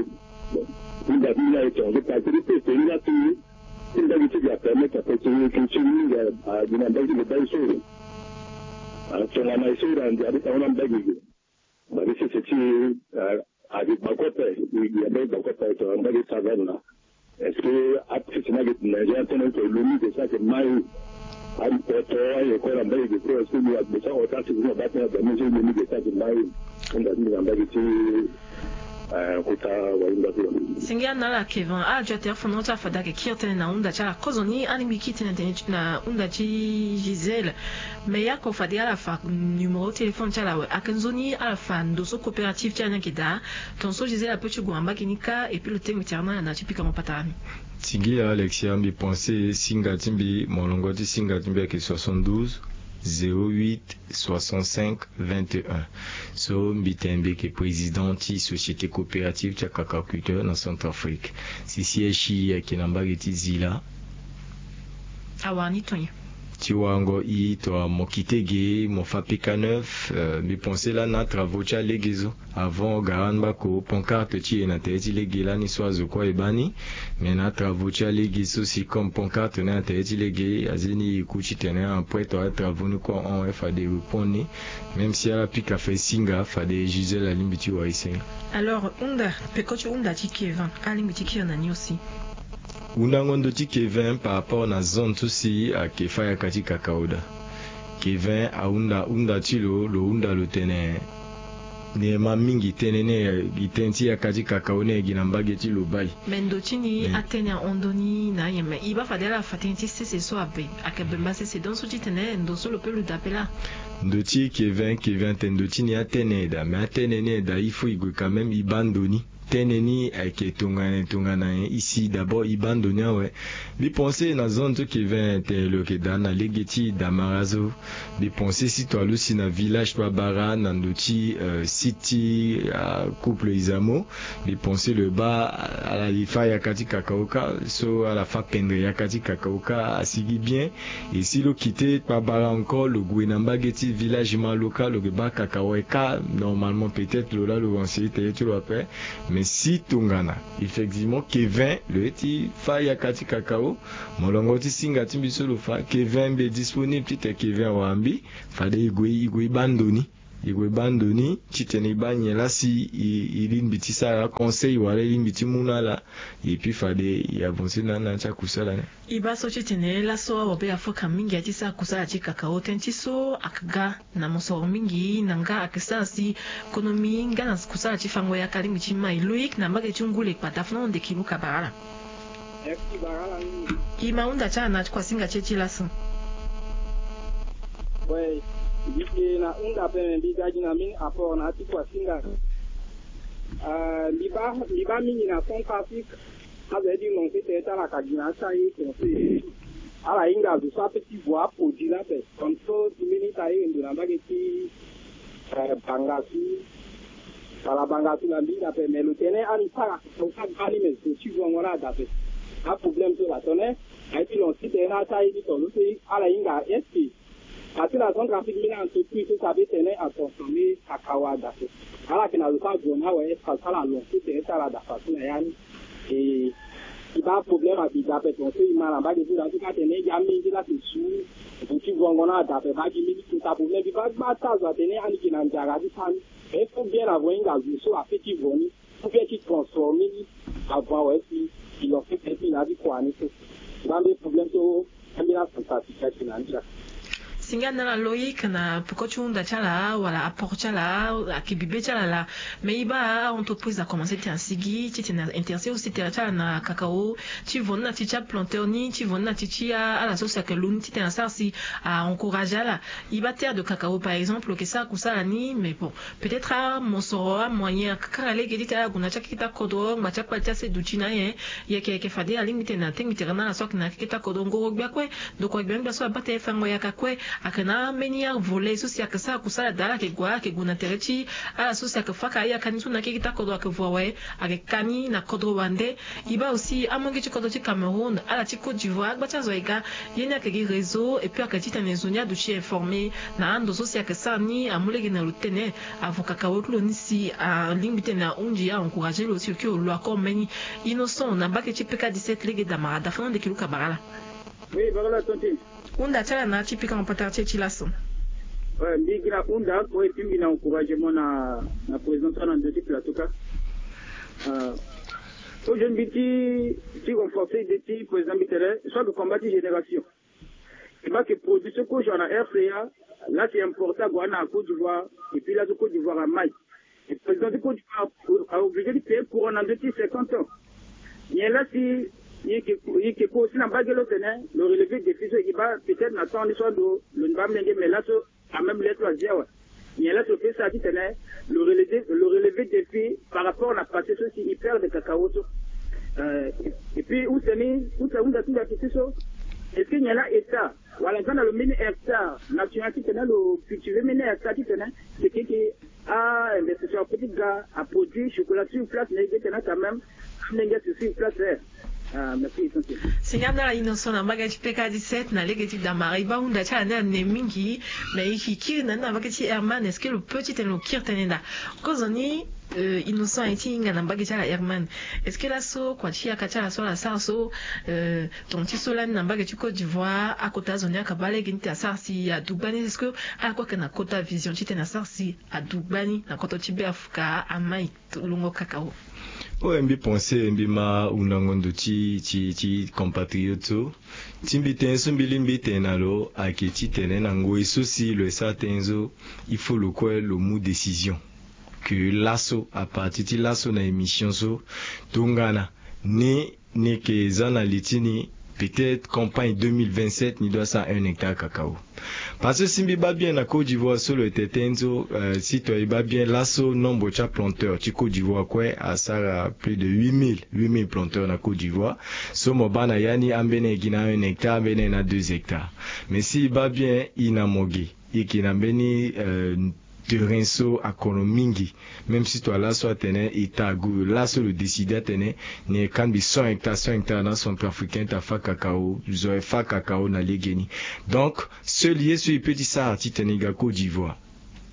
Bon. Hunda ti mbi ni aye tongaso parce que ti tene ni laa ti ti mbage ti gi apermettre ape ti, ti, ti mingi, ah, gi na mbage ti lo baa e so. Ah, tongana e so e na ndia ti tango na mbage ge. Mba ti sese ti, ah, agi gbako ape, i, i, agi gbako ape, to, mbage savane la. Est-ce que a sese na ge na ge atene to lo ni de sa ke mai? Apoto aye ko na mbage ge ko, est-ce que lo a de sa ota sese na ba tene da mi je lo ni de sa ke mai? Nda ni na mbage ti, eh, kota wa inda ko. Singia na ala Kevin, a jo ate afo na ota fada ke kiri tene na hunda ti ala. Kozo ni alingbi kiri tene tene na hunda ti Gisèle. Mais ya ko fade ala fa numéro téléphone ti ala awe. Ake nzoni ala fa ndo so coopérative ti ala ni ayeke daa. Tongaso Gisèle ape ti gue na mbage ni kâ, et puis lo tengbe ti ala na ala na ya ti pikango patara ni. Singia Alexia, mbi pense singa ti mbi, molongo ti singa ti mbi ayeke soixante-douze, zéro huit, soixante-cinq, vingt et un. So mbi tene mbi yeke président ti société coopérative ti akacaculteur na Centrafrique. Si siège ti e ayeke na mbage ti Zila. Awara ni tongana nyen? Ti warango e to, mo kite ge, mo fa peka neuf, euh, mbi pense lani na travaux ti alege so. Avant gara ni bako pancarte ti e na tere ti lege lani so azo kue e baa ni. Mais na travaux ti alege so si comme pancarte ni na tere ti lege, azi ni e ku titene après to atravaux ni kue ahon, e fade e répondre ni. Même si ala pika fa e singa, fade Gisèle alingbi ti wara e singa. Alors hunda, peko ti hunda ti Kevin, alingbi ti kiri na ni aussi. Hundango ndo ti Kevin par rapport na zone so si ayeke fâ yaka ti kakao daa. Kevin ahunda hunda ti lo, lo hunda lo tene ni ma mingi tënë ni, gi tënë ti yaka ti kakao ni gi na mbage ti lo baa e. Mais ndo ti ni atene ahon ndo ni na ayen, mais e baa fade ala fa tënë ti sese so abe, ayeke bemba sese, donc so titene ndo so lo pe luda ape laa. Ndo ti Kevin, Kevin atene ndo ti ni atene e daa, mais atene ni e daa, il faut e gue quand même e baa ndo ni. tene ni ayeke tongana tongana nyen, e si d'abord e baa ndo ni awe. Mbi pense na zone so Kevin tene lo yeke daa na lege ti damara so. Mbi pense si to alusi na village kpabara na ndo ti site ti couple Izamo, mbi pense lo baa ala fa yaka ti kakao kâ, so ala fa pendre yaka ti kakao kâ asigi bien. Et si lo kite kpabara encore, lo gue na mbage ti village Maloka, lo ke baa kakao kâ. Normalement, peut-être lo laa lo conseiller tene ti lo ape. Mais si tongana effectivement Kevin lo ye ti fa yaka ti kakao, molongo ti singa ti mbi so lo fa, Kevin mbi est disponible titene Kevin awara mbi. Fade e gue e gue e baa ndo ni. E gue e baa ndo ni titene e baa nyen laa si e lingbi ti sara conseil wala e lingbi ti mu na ala. Et puis fade e avancer na ala na ya ti akusala ni. E baa so titene laso awabe afoka mingi ya ti sara kusala ti kakao. Tënë ti so ayeke ga na mosoro mingi na nga ayeke sara si konomi nga na kusala ti fango yaka alingbi ti mai. Loïc na mbage ti Ngule Kpata, fana onde kilu kabara ala. E ma hunda ti ala na ti kuasinga ti e ti laso. Ouais, mbi yeke na hunda ape, me mbi ga gi na mbeni apport na ya ti kuasinga. Mbi baa mbi baa mingi na Centrafrique. Azo ye ti lancer tene ti ala ka gi na ya ti aye conseiller. Ala hinga zo so ape ti vo aproduit ni ape. Comme so ti mbeni ti aye ndo na mbage ti Bangassou. Wala Bangassou na mbi hinga ape, mais lo tene ani sara lo ka ga ni, mais zo ti vo yango ni ada ape. Aproblème so la tene aye ti lancer tene na ya ti aye ti tongana so ala hinga est-ce que Parce que na Centrafrique, mbeni entreprise so si abe tene a transformer cacao ada so. Ala yeke na lo so ague na awe, est-ce que ala lancer tene ti ala ada façon na ya ni? E, e baa problème abi da ape, ton so e ma na mbage ti da so ka tene e gi amenge la ti su. Vo ti vongo na ada ape, baa gi mbeni kota problème. Mbi baa gba ti azo atene ani yeke na nzara ti sara ni. Mais il faut bien avant e hinga zo so ape ti vo ni. Ou bien ti transformer ni avant awe si e lancer tene ti na ya ti kua ni so. Mbi baa mbeni problème so. Singa na ala Loïc na peko ti hunda ti ala wala apport ti ala, ayeke bibe ti ala laa. Mais e baa a-entreprise akomanse tene asigi titene a intéresser aussi tere ti ala na cacao, ti vo ni na ti ti aplanteur ni, ti vo ni na ti ti ala so si ayeke lu ni titene asara si a encourager ala. E baa terre de cacao par exemple lo yeke sara kusala ni, mais bon, peut-être amosoro amoyen akaka lege ti tene ala gue na ti akeke ti akodro ngba ti akpali ti aseduti na ayen. Yeke yeke fade alingbi tene atengbi tere na ala so ayeke na akeke ti akodro ngoro gbia kue. Ndokua gbia ni gbia so abaa tene fango yaka kue. Ayeke na ambeni avolet so si ayeke sara kusala daa, ala yeke gue ala yeke gue na tere ti ala so si ayeke faka ayaka ni so na akeke ti akodro ayeke vo awe. Ayeke ka ni na kodro wande. E baa aussi amolenge ti kodro ti Cameroun, ala ti Côte d'Ivoire, agba ti azo aye ga. Ye ni ayeke gi réseau et puis ayeke titene zo ni aduti informer na ando so si ayeke sara ni, amu lege na lo titene avo cacao ti lo ni si alingbi titene ahunzi a encourager lo si lo kiri lo lo accord mbeni. Innocent na mbage ti P K dix-sept lege damara da fana ndeki luka bara ala. Oui, bara ala tonti. Hunda ti ala na ya ti pika en retard ti e ti laso. Ouais, mbi gi na hunda kue et puis mbi na encouragement na na président so na ndö ti plateau ka. Euh, aujourd'hui mbi ti ti renforcer idée ti président mbi tere soit de combat ti génération. E baa ke produit so kozo na R C A, là c'est important, ague na Côte d'Ivoire, et puis là so Côte d'Ivoire amai. Et président ti Côte d'Ivoire a obligé ti payer courant na ndö ti cinquante ans. Nyen la si e yeke e yeke ko aussi na mbage lo tene lo relever défi so e baa peut-être na temps ni so ando lo ni baa mlenge, mais là so quand même lettre azi awe. Nyen la so lo fait ça titene lo relever lo relever défi par rapport na passé so si e perdre cacao so. Euh, et puis use ni use hunda ti nda ti ti so, est-ce que nyen la état wala nga na lo mbeni hectare national titene lo cultiver mbeni hectare titene si keke a investisseur apeut ti ga aproduit chocolat sur place na e ge tena quand même amenge si sur place. Eh. Ah, merci essentiel. Singa na ala Innocent na mbage ti P K dix-sept na lege ti damara. E baa hunda ti ala ni ane mingi. Mais e yeke kiri na ni na mbage ti Herman, est-ce que lo peut titene lo kiri tënë daa? Kozoni, euh, Innocent aye ti hinga na mbage ti ala Herman. Est-ce que laso kua ti yaka ti ala so ala sara so, euh, ton ti so lani na mbage ti Côte d'Ivoire akota azo ni ayeke baa lege ni titene asara si adu gbani? Est-ce que ala kue ayeke na kota vision titene asara si adu gbani na kodro ti Beafrika amai longo cacao? Oyo mbi pense mbi ma hundango ndo ti ti ti compatriote so. Ti mbi tënë so mbi lingbi tene na lo ayeke titene na ngoi so si lo ye sara tënë so, il faut lo kue lo mu décision. Que laso à partir ti laso na émission so, tongana ni ni yeke za na li ti ni, Peut-être campagne deux mille vingt-sept ni doit sara un hectare cacao. Parce que si mbi baa bien na Côte d'Ivoire so lo yeke tene so, si to ye baa bien laso, nombre ti aplanteur ti Côte d'Ivoire kue asara plus de huit mille, huit mille planteurs na Côte d'Ivoire. So mo baa na ya ni, ambeni aye gi na un hectare, ambeni aye na deux hectares. Mais si e baa bien, e na mo ge, e yeke na mbeni terrain so akono mingi. Même si to a laso atene État agu, laso lo décider atene ni e kangbi cent hectares, cent hectares na centrafricain ti afa cacao, zo e fa cacao na legeni. Donc seul ye so e peut ti sara titene e ga Côte d'Ivoire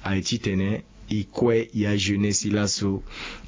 aye titene e kue ya jeunesse laso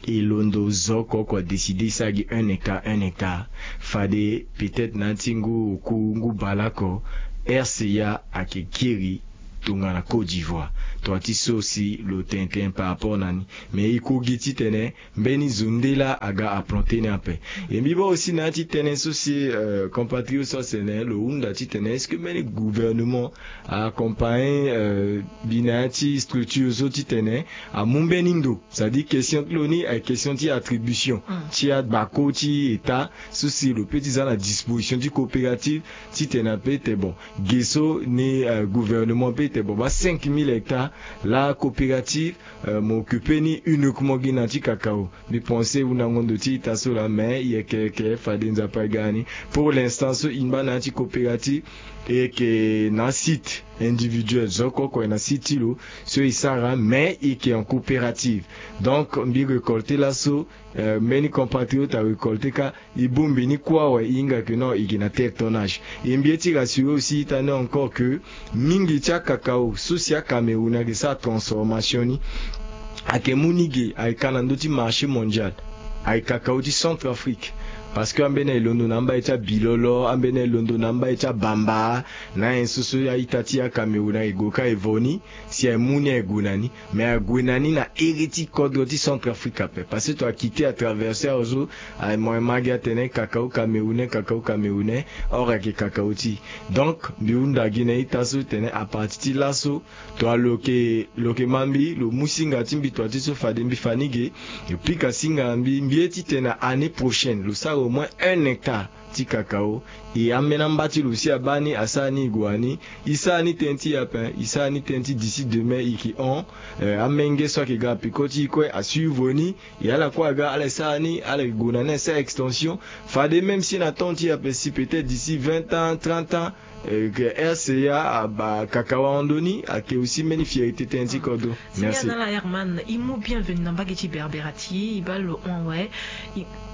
e londo zo oko oko adécider e sara gi un hectare, un hectare. Fade peut-être na ya ti ngu oku, ngu baleoko, R C A ayeke kiri tongana Côte d'Ivoire. Tongana ti so si lo tene tënë par rapport na ni. Mais e ko gi titene mbeni zo nde laa aga aplanter ni ape. E mbi baa aussi na ya ti tënë so si compatriote so atene lo hunda titene est-ce que mbeni gouvernement a accompagner mbi na ya ti structure so titene amu mbeni ndo. C'est-à-dire question ti lo ni aye question ti attribution ti agbako ti État so si lo peut ti za na disposition ti coopérative titene ape ti bon, ge so ni gouvernement peut ti bon, baa cinq mille hectares, la coopérative mo occuper ni uniquement gi na ya ti cacao. Mbi pense e hunda ngondo ti ita so laa, mais e yeke, e yeke fade Nzapa aga ni. Pour l'instant so e baa na ya ti coopérative, e yeke na asite individuel, zo oko oko aye na site ti lo so e sara, mais e yeke en coopérative. Donc mbi récolter laso, mbeni compatriote arécolter kâ, e bongbi ni kue awe, e hinga que non, e yeke na terre tonnage. E mbi ye ti rassurer aussi ita ni encore que mingi ti acacao so si aCameroun ayeke sara transformation ni, ayeke mu ni ge, ayeke ka na ndö ti marché mondial, ayeke cacao ti Centrafrique. Parce que ambeni aye londo na amba ye ti abilolo, ambeni aye londo na amba ye ti abamba, na ayen so so a-ita ti aCameroun ayeke gue kâ e vo ni, si aye mu ni aye gue na ni. Mais ague na ni na iri ti kodro ti Centrafrique ape. Parce que to a quitter atraverser azo, aye mo ye ma gi atene cacao camerounais, cacao camerounais, or ayeke cacao ti. Donc mbi hunda gi na ita so tene à partir ti laso, to a lo yeke, lo yeke ma mbi, lo mu singa ti mbi, to a ti so fade mbi fa ni ge, lo pika singa na mbi, mbi ye titene année prochaine lo sara au moins un hectare ti cacao. E ambeni amba ti lo si abaa ni, asara ni e gue na ni. E sara ni tënë ti e ape, e sara ni tënë ti d'ici demain e yeke hon. Amenge so ayeke ga na peko ti e kue asuivre ni. E ala kue aga, ala e sara ni, ala e gue na ni asara extension. Fade même si na temps ti e ape si peut-être d'ici vingt ans, trente ans, que R C A abaa cacao ahon ndoni, ayeke aussi mbeni fierté tënë ti kodro. Merci. Singana ala Herman, e mu bienvenue na mbage ti Berbera ti e, e baa lo hon awe.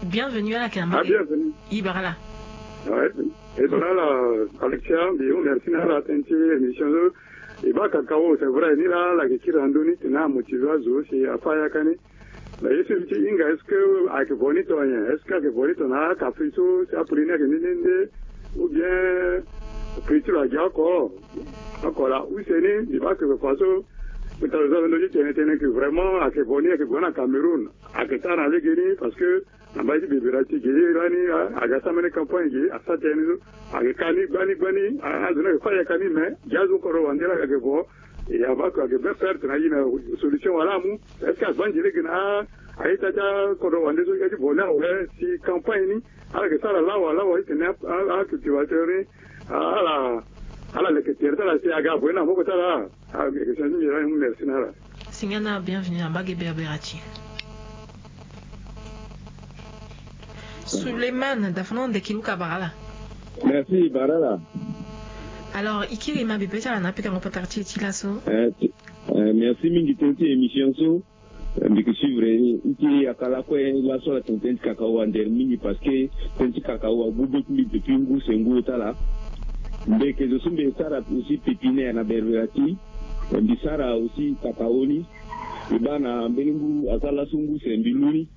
Bienvenue ala yeke na mbage. E bara ala. Ouais. E bara ala Alexia, mbi mu merci na ala tënë ti émission so. E baa cacao, c'est vrai, ni laa ala yeke kiri na ndö ni tene amotivé azo si afa yaka ni. Mais ye so mbi ti hinga, est-ce que ayeke vo ni to nyen? Est-ce que ayeke vo ni to na akafri so si apri ni ayeke nde nde nde, ou bien prix ti lo agia oko? Oko laa use ni, mbi baa que façon mbi ta lo za lo ndö ti tene tënë que vraiment ayeke vo ni ayeke gue na Cameroun, ayeke sara na legeni, parce que na mbage ti Berbera ti e ge lani, aga sara mbeni campagne ge, asara tënë ni so. Ayeke ka ni gbani gbani, azo ni ayeke fâ ayeke ka ni, mais ge azo kodro wande laa ayeke vo. E avant que ayeke bien perte na e na solution wala amu. Est-ce que agbanze lege na a-ita ti akodro wande so, e ti vo ni awe si campagne ni ala yeke sara lawa lawa ti tene acultivateur ni ala, ala leke tere ti ala si aga vo ni na moko ti ala? Ayeke question ti mbi laa, e mu merci na ala. Singana, bienvenue na mbage Berbera ti e. Suleiman, da fana ndeki luka bara ala. Merci, bara ala. Alors, e kiri e ma bebe ti ala na apikango patara ti e ti laso. Eh, ti, eh, merci mingi tënë ti émission so. Eh, mbi yeke suivre ni. E kiri yaka lakue laso ala tene tënë ti cacao andere mingi parce que tënë ti cacao agu be ti mbi depuis ngu se ngu ota laa. Mbi yeke zo so mbi sara aussi pépinière na Berbera ti e. Mbi sara aussi cacao ni. Mbi baa na mbeni ngu asara laso ngu se mbi lu ni.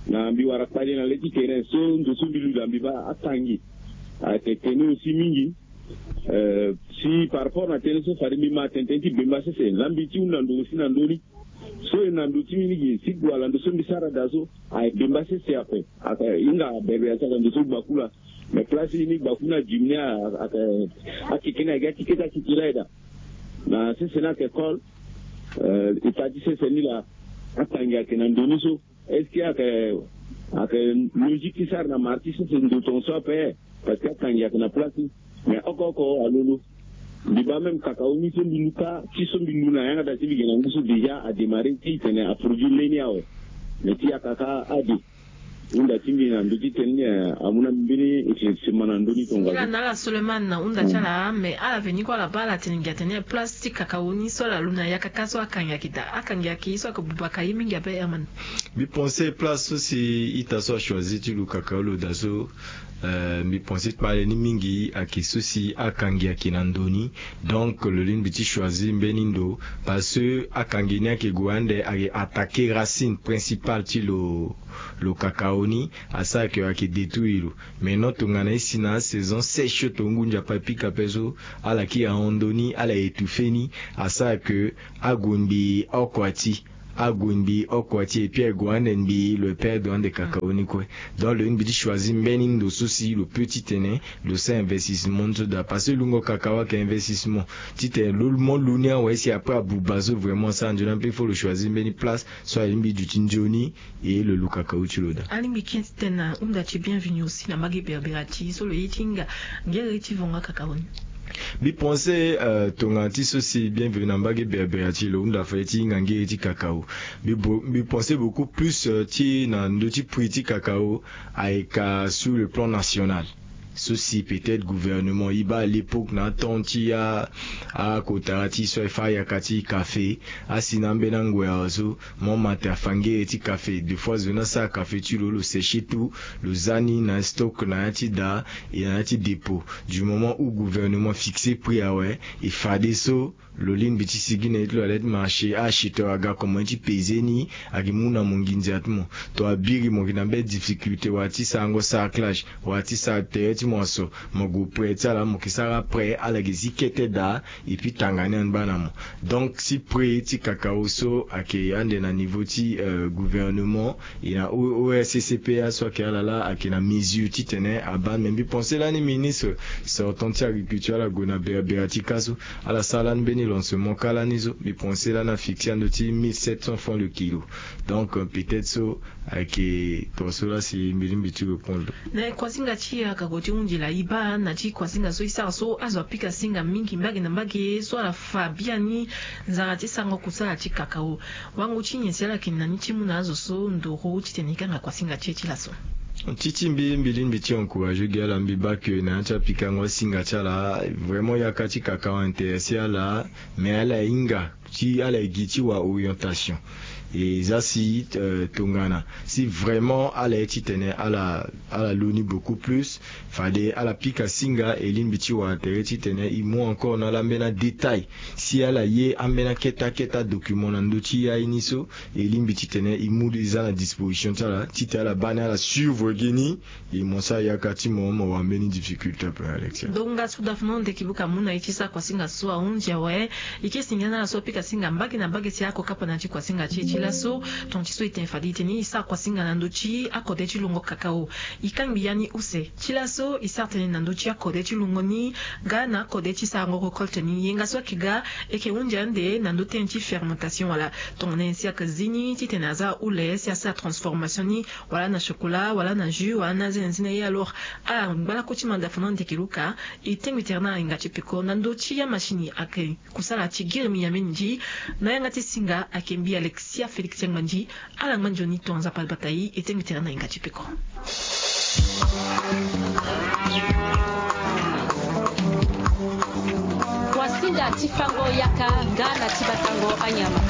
Na mbi wara kpale na le ti terrain so ndo so mbi lu daa mbi baa atangi ayeke tene aussi mingi. Eh, si par rapport na tënë so fade mbi ma tene tënë ti bemba sese, la mbi ti hunda ndo aussi na ndö ni. So e na ndo ti mbi ni gi si gue ala ndo so mbi sara daa so aye bemba sese ape. Ayeke hinga Berbera ti ala ndo so gbaku laa. Mais place ni gbaku ni adimi ni ayeke akeke ni ayeke gi akeke ti akeke ti aye daa. Na sese ni ayeke col. Eh, e ta ti sese ni laa atangi ayeke na ndo ni so. Est-ce que ayeke, ayeke logique ti sara na mara ti sese ndo tongaso ape? Parce que akangi ayeke na place ni. Mais oko oko alolo. Mbi baa même kakao ni so mbi lu kâ ti so mbi lu na yanga daa ti mbi ge na ngu so déjà adémarré ti tene aproduit leni awe. Mais ti yaka kâ ade. Hunda ti mbi na ndö ti tene ni amu na mbi mbeni eke sema na ndö ni tongaso. Nga na ala Suleiman na hunda ti ala mais ala veni kue ala baa ala tene ngia tene place ti kakao ni so ala lu na yaka kâ so akangi ayeke daa, akangi ayeke ye so ayeke buba ka ye mingi ape Herman. Mbi pense place so si ita so achoisir ti lu kakao lo daa so. Mbi pense ti kpale ni mingi ayeke so si akangi ayeke na ndo ni. Donc lo lingbi ti choisir mbeni ndo. Parce que akangi ni ayeke gue ande ayeke attaquer racine principale ti lo, lo kakao ni. Asara ke ayeke détruire lo. Maintenant tongana e si na asaison sèche so tonga ngu nzapa e pika ape so, ala kiri ahon ndo ni, ala étouffer ni. Asara ke ague mbi oko ati. Ague mbi oko ati et puis ague ande mbi lo e perdre ande kakao ni kue. Donc lo lingbi ti choisir mbeni ndo so si lo peut ti tene lo sara investissement ni so daa. Parce que lungo kakao ayeke investissement. Ti tene lo mo lu ni awe si après abuba so vraiment asara nzoni ape, il faut lo choisir mbeni place so alingbi duti nzoni. Et lo lu kakao ti lo daa. Alingbi kiri ti tene na hunda ti Bienvenu aussi na mbage berbera ti so lo ye ti hinga ngere ti vonga kakao ni. Mbi pense tongana ti so si Bienvenu na mbage berbera ti lo hunda fade ti hinga ngere ti kakao. Mbi pense beaucoup plus ti na ndö ti prix ti kakao ayeke sur le plan national. So si peut-être gouvernement e baa à l'époque na atemps ti akotara ti so aye fâ ayaka ti café, asi na ambeni angwera so mo ma te afa ngere ti café. Deux fois zo ni asara café ti lo, lo sécher tout, lo za ni na stock na ya ti daa et na ya ti dépôt. Du moment où gouvernement fixe prix awe, e fadeso lo lingbi ti sigi na ye ti lo ale ti marché, acheteur aga comment ti peser ni, agi mu na mo nginza ti mo. To abiri mo gi na mbeni difficulté wala ti sarango sarclage wala ti sara tere ti mo aso, mo gue prêt ti ala, mo ke sara prêt, ala ge zi kete daa. Et puis tanga ni angba na mo. Donc si prix ti kakao so ayeke ande na niveau ti gouvernement, e na ORCCPA so ayeke ala laa ayeke na mesure ti tene abaa. Mais mbi pense lani ministre sortant ti agriculture ala gue na berbera ti kâ so, ala sara lani mbeni lancement kâ lani so. Mbi pense lani afixe ando ti mille sept cents francs le kilo. Donc peut-être so ayeke tongaso laa si mbi lingbi ti répondre. Na kuasinga ti yaka ko ti hunzi laa e baa na ti kuasinga so e sara so azo apika singa mingi mbage na mbage so ala fa biani nzara ti sarango kusala ti kakao. Wango ti nyen si ala yeke na ni ti mu na azo so ndoro titene e kanga kuasinga ti e ti laso? Ti ti mbi, mbi lingbi ti encourager gi ala, mbi baa ke na ya ti apikango asinga ti ala vraiment yaka ti kakao intéressé ala. Mais ala hinga ti ala ye gi ti wa orientation. E za si tongana si vraiment ala ye titene ala ala lu ni beaucoup plus, fade ala pika singa e lingbi ti wara tere titene e mu encore na ala ambeni adétail. Si ala ye ambeni akete akete adocument na ndö ti aye ni so, e lingbi titene e mu e za na disposition ti ala titene ala baa ni ala suivre gi ni. E mo sara yaka ti mo, mo wara mbeni difficulté ape na lecture. Donc nga so dafuno ndeki buka mu na e ti sara kuasinga so ahunzi awe. E ke singa na ala so apika singa mbage na mbage si ako kapa na ya ti kuasinga ti e ti laso. Tonga ti so e tene fade e tene e sara kuasinga na ndö ti akode ti lungo kakao. E kangbi ya ni use. Ti laso e sara tënë na ndö ti akode ti lungo ni nga na akode ti sarango récolte ni. Yenga so ayeke ga e yeke hunzi ande na ndö tënë ti fermentation wala tongana nyen si ayeke zi ni titene aza ahule si asara transformation ni wala na chocolat wala na jus wala na aze na nzina ye. Alors ala ngba lakue ti manda fana ndeke luka. E tengbi tere na ala hinga ti peko na ndö ti amashini ayeke kusala ti giri miameni ndi. Na yanga ti singa ayeke mbi Alexia Félix Tiangbandi. Ala ngba nzoni tonga Nzapa abata e. E tengbi tere na hinga ti peko. Wasinga ti fango yaka nga na ti batango anyama.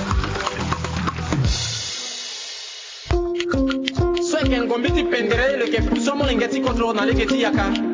So ayeke ngombi ti pendere lo yeke fu so molenge ti kodro na lege ti yaka.